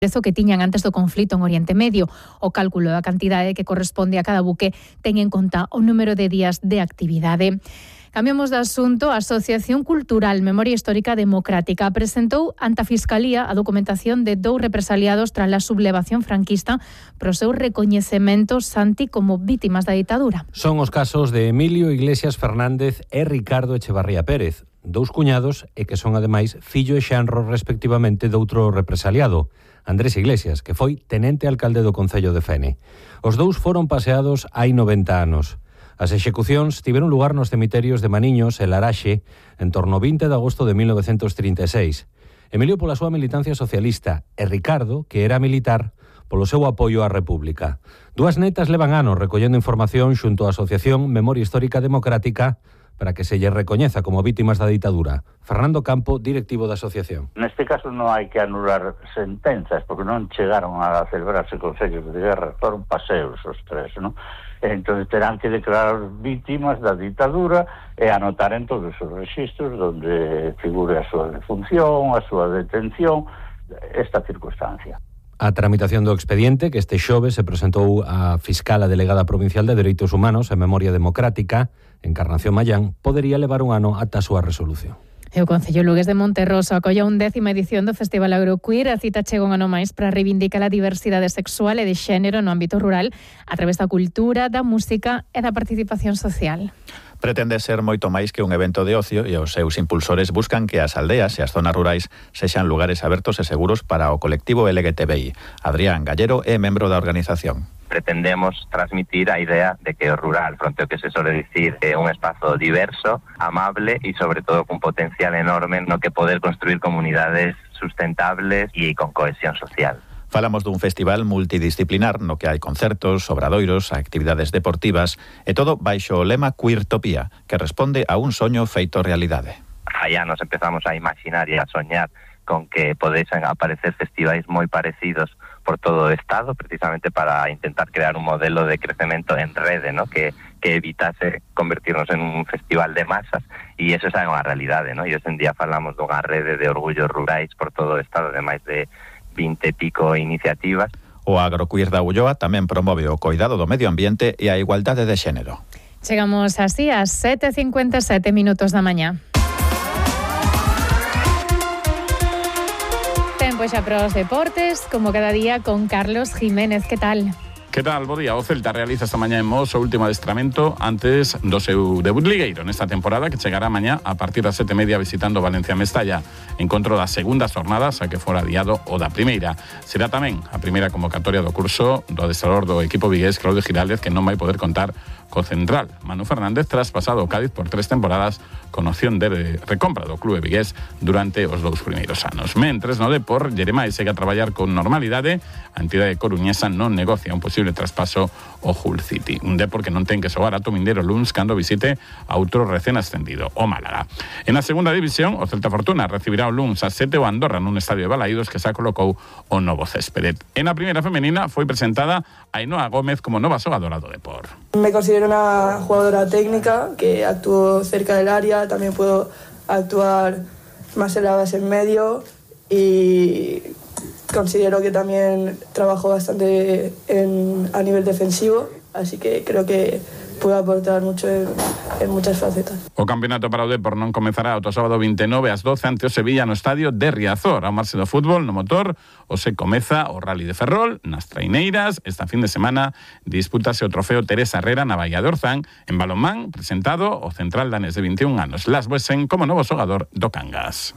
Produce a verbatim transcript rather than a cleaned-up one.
prezo que tiñan antes do conflito en Oriente Medio. O cálculo da cantidade que corresponde a cada buque ten en conta o número de días de actividade. Cambiamos de asunto. A Asociación Cultural Memoria Histórica Democrática presentou ante a Fiscalía a documentación de dous represaliados tras a sublevación franquista pro seu recoñecemento santi como vítimas da ditadura. Son os casos de Emilio Iglesias Fernández e Ricardo Echevarría Pérez, dous cuñados e que son ademais fillo e xenro respectivamente doutro represaliado, Andrés Iglesias, que foi tenente alcalde do Concello de Fene. Os dous foron paseados hai noventa anos. As execucións tiveron lugar nos cemiterios de Maniños e Laraxe en torno ao vinte de agosto de mil novecentos trinta e seis. Emilio pola súa militancia socialista e Ricardo, que era militar, polo seu apoio á República. Dúas netas levan anos recollendo información xunto á Asociación Memoria Histórica Democrática para que se lle recoñeza como vítimas da ditadura. Fernando Campo, directivo da asociación. Neste caso non hai que anular sentenzas, porque non chegaron a celebrarse consellos de guerra, foron paseos os tres, non? Entón terán que declarar vítimas da ditadura e anotar en todos os registros onde figure a súa defunción, a súa detención, esta circunstancia. A tramitación do expediente, que este xoves se presentou a fiscala delegada provincial de Dereitos Humanos e Memoria Democrática, Encarnación Mayán, podería levar un ano ata a súa resolución. E o Concello Lugués de Monterroso acolla un décima edición do Festival Agroqueer. A cita chega un ano máis para reivindicar a diversidade sexual e de xénero no ámbito rural a través da cultura, da música e da participación social. Pretende ser moito máis que un evento de ocio e os seus impulsores buscan que as aldeas e as zonas rurais sexan lugares abertos e seguros para o colectivo L G T B I. Adrián Gallero é membro da organización. Pretendemos transmitir a idea de que o rural, fronte ao que se sole dicir, é un espazo diverso, amable e sobre todo con potencial enorme no que poder construir comunidades sustentables e con cohesión social. Falamos dun festival multidisciplinar no que hai concertos, obradoiros, actividades deportivas e todo baixo o lema Queertopía, que responde a un soño feito realidade. Allá nos empezamos a imaginar e a soñar con que podesen aparecer festivais moi parecidos por todo o Estado, precisamente para intentar crear un modelo de crecemento en rede, ¿no? que, que evitase convertirnos en un festival de masas, e eso é unha realidade, ¿no? E hoxe en día falamos dunha rede de orgullos rurais por todo o Estado, de máis de vinte e pico iniciativas. O Agroqueer da Ulloa tamén promove o coidado do medio ambiente e a igualdade de xénero. Chegamos así ás sete e cincuenta e sete minutos da mañá. Tempo xa para os deportes, como cada día con Carlos Jiménez. Que tal? Que tal, bo día? O Celta realiza esta mañá en Mos o último adestramento antes do seu debut ligueiro nesta temporada, que chegará mañá a partir das sete e media visitando Valencia Mestalla. Encontro das segundas jornadas a que fora adiado o da primeira. Será tamén a primeira convocatoria do curso do adestrador do equipo vigués Claudio Giraldez, que non vai poder contar co central Manu Fernández tras pasado o Cádiz por tres temporadas con opción de recompra do clube vigués durante os dous primeiros anos. Mentres no Depor, Jeremai segue a traballar con normalidade. A entidade coruñesa non negocia un posible traspaso ao Hull City. Un Depor que non ten que xogar a Tomindeiro luns cando visite a outro recén ascendido, o Málaga. En a segunda división, o Celta Fortuna recibirá o luns a sete o Andorra nun estadio de Balaídos que xa colocou o novo céspede. En a primeira femenina foi presentada Ainhoa Gómez como nova xogadora do Depor. Me considero una jugadora técnica que actúo cerca del área, también puedo actuar más en la base en medio y considero que también trabajo bastante en, a nivel defensivo, así que creo que puedo aportar mucho en, en muchas facetas. O campeonato para o Depor non comezará o sábado vinte e nove ás doce ante o Sevilla no estadio de Riazor. Ao marxe do fútbol, no motor, o se comeza o Rally de Ferrol nas traiñeiras. Esta fin de semana dispútase o trofeo Teresa Herrera na Baía de Orzán. En balonmán, presentado o central danés de vinte e un anos, Lars Boesen, como novo xogador do Cangas.